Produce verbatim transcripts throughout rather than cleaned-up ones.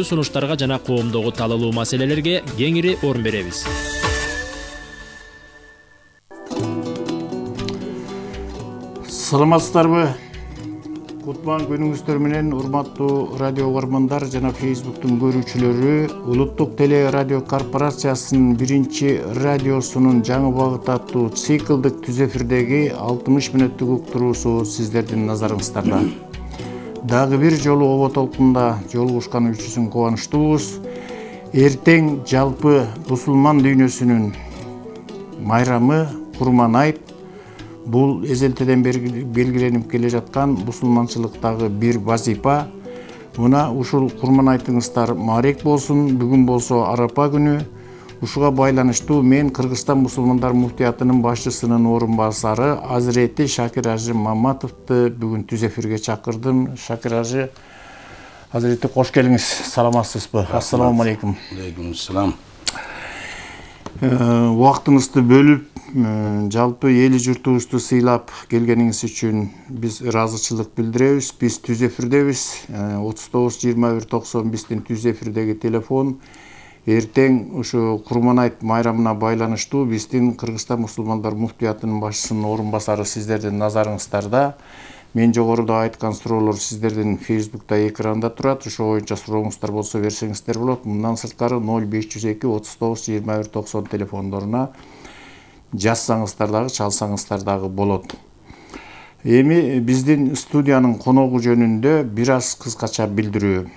сунуштарга жана коомдогу талалуу маселелерге кеңири орун беребиз. Саламатсыздарбы? Кутман күнүңүздөр менен урматтуу радио угармандар жана Facebooktун көрүүчүлөрү. Улуттук теле радио корпорациясынын биринчи радиосунун жаңы багыт аттуу циклдык түз эфирдеги алтымыш мүнөттүк уктуруусу сиздердин назарыңыздарда. Дагы бир жолу оба толкунда жолугушкан үчүн кубанычтуубуз. Эртең жалпы мусулман дүйнөсүнүн майрамы Курман айт. Бул эзелтеден белгиленип келе жаткан мусулманчылыктагы бир вазипа. Мына ушул Курман айтыңыздар маарек болсун. Бүгүн болсо Арапа күнү. Ушуга байланыштуу мен Кыргызстан мусулмандар муфтиятынын башчысынын орун басары Азирети Шакир Ажы Маматовду бүгүн түз эфирге чакырдым. Шакир Ажы, Азирети кош келиңиз. Саламатсызбы? Ассаламу алейкум. Алейкум ассалам. Убактыңызды бөлүп, жалпы эли журтубузду сыйлап келгениңиз үчүн биз ыраазычылык билдиребиз. Биз түз эфирдебиз. отуз тогуз жыйырма бир токсон биздин түз эфирдеги телефон. Эртең ушу Курман айт майрамына байланыштуу биздин Кыргызстан мусулмандар муфтиятынын башчысынын орун басары сиздердин назарыңыздарда. Мен жогоруда айткан суроолор сиздердин Facebook'та экранда турат. Ошо боюнча сурооңуздар болсо берсеңиздер болот. Мындан сырткары ноль беш жүз эки отуз тогуз жыйырма бир токсон телефондоруна жазсаңыздар дагы, чалсаңыздар дагы болот. Эми биздин студиянын коногу жөнүндө бир аз кыскача билдирүү.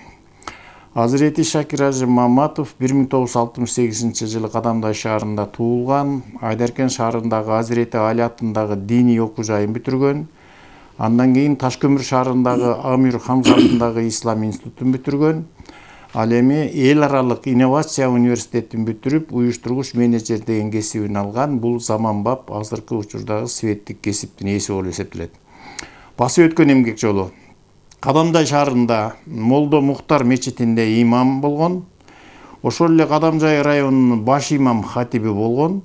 Азирети Шакир Ажы Маматов бир миң тогуз жүз алтымыш сегизинчи жылы Кадамдай шаарында туулган. Айдаркен шаарындагы Азирети Али атындагы диний окуу жайын бүтүргөн. Андан кийин Ташкөмүр шаарындагы Амир Хамза атындагы Ислам институтун бүтүргөн. Ал эми эл аралык инновация университетин бүтүрүп, уюштургуч менеджер деген кесибин алган. Бул заманбап азыркы учурдагы светтик кесиптин ээси болуп эсептелет. Басып өткөн эмгек жолу. Кадамдай шаарында Молдо Мухтар мечитинде имам болгон. Ошол эле Кадамжай районунун баш имам хатиби болгон.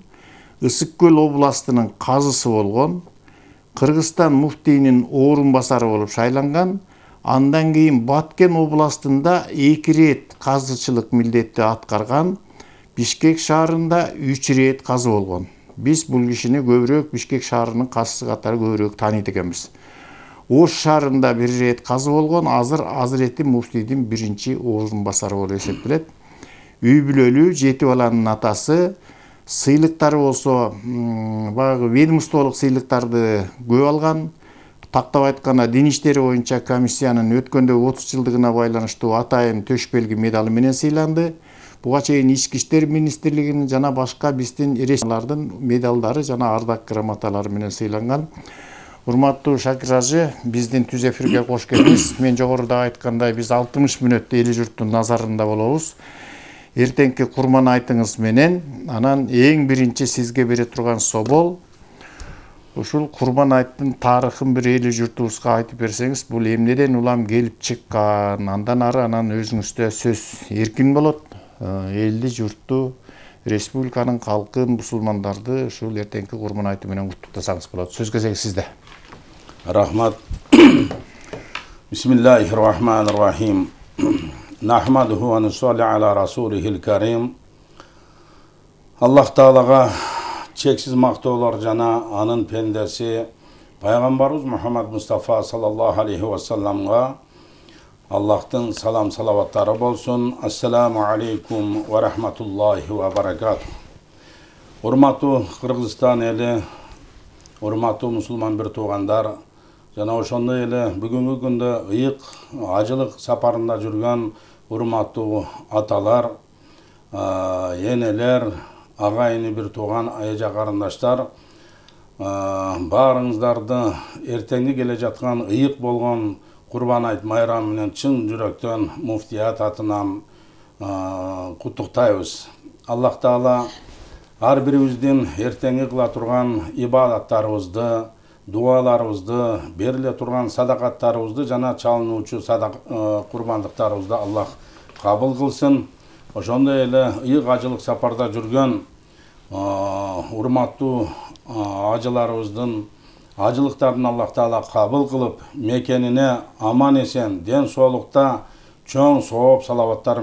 Ысык көл областынын казысы болгон. Кыргызстан муфтийинин орун басары болуп шайланган. Андан кийин Баткен областында эки рет казычылык милдетти аткарган. Бишкек шаарында үч рет казы болгон. Биз бул кишини көбүрөөк Бишкек шаарынын казысы катары көбүрөөк тааныйт экенбиз. Ош шаарында бир рет казы болгон. Азыр Азирети муфтийдин биринчи орун басары болуп эсептелет. Үй бүлөлүү, жети баланын атасы. Сыйлыктары болсо баягы ведомстволук сыйлыктарды көп алган. Тактап айтканда дин иштери боюнча комиссиянын өткөндөгү отуз жылдыгына байланыштуу атайын төш белги медалы менен сыйланды. Буга чейин Ички иштер министрлигинин жана башка биздин республикалардын медалдары жана ардак грамоталары менен сыйланган. Урматтуу Шакир Ажы, биздин түз эфирге кош келиңиз. Мен жогоруда айткандай биз алтымыш мүнөттө эли журттун назарында болобуз. Эртеңки Курман айтыңыз менен анан эң биринчи сизге бере турган собол ушул Курман айттын тарыхын бир эли журтубузга айтып берсеңиз, бул эмнеден улам келип чыккан, андан ары анан өзүңүздө сөз эркин болот. Элди, журтту, республиканын калкын, мусулмандарды ушул эртеңки Курман айты менен куттуктасаңыз болот. Сөз кезеги сизде. Рахмат. Бисмиллахир-рахманир-рахим. Нахмадуху ва нусалли аля расулихил карим. Аллах Таалага чексиз мактоолор жана анын пендеси пайгамбарыбыз Мухаммад Мустафа саллаллаху алейхи ва салламга Аллахтын салам салаваттары болсун. Ассаламу алейкум ва рахматуллахи ва баракатух. Урматтуу Кыргызстан эли, урматтуу мусулман бир туугандар, жана ошондой эле бүгүнкү күндө ыйык ажылык сапарында жүргөн урматтуу аталар, энелер, агайыны бир тууган эже карындаштар, баарыңыздарды эртеңги келе жаткан ыйык болгон Курман айт майрамы менен чын жүрөктөн муфтият атынан куттуктайбыз. Аллах Таала ар бирибиздин эртеңги кыла турган ибадаттарыбызды, дуаларыбызды, бериле турган садакаттарыбызды жана чалынуучу садак курбандыктарыбызды Аллах кабыл кылсын. Ошондой эле ыйык ажылык сапарда жүргөн урматтуу ажыларыбыздын ажылыктарын Аллах Таала кабыл кылып, мекенине аман эсен, ден соолукта чоң сооп салаваттар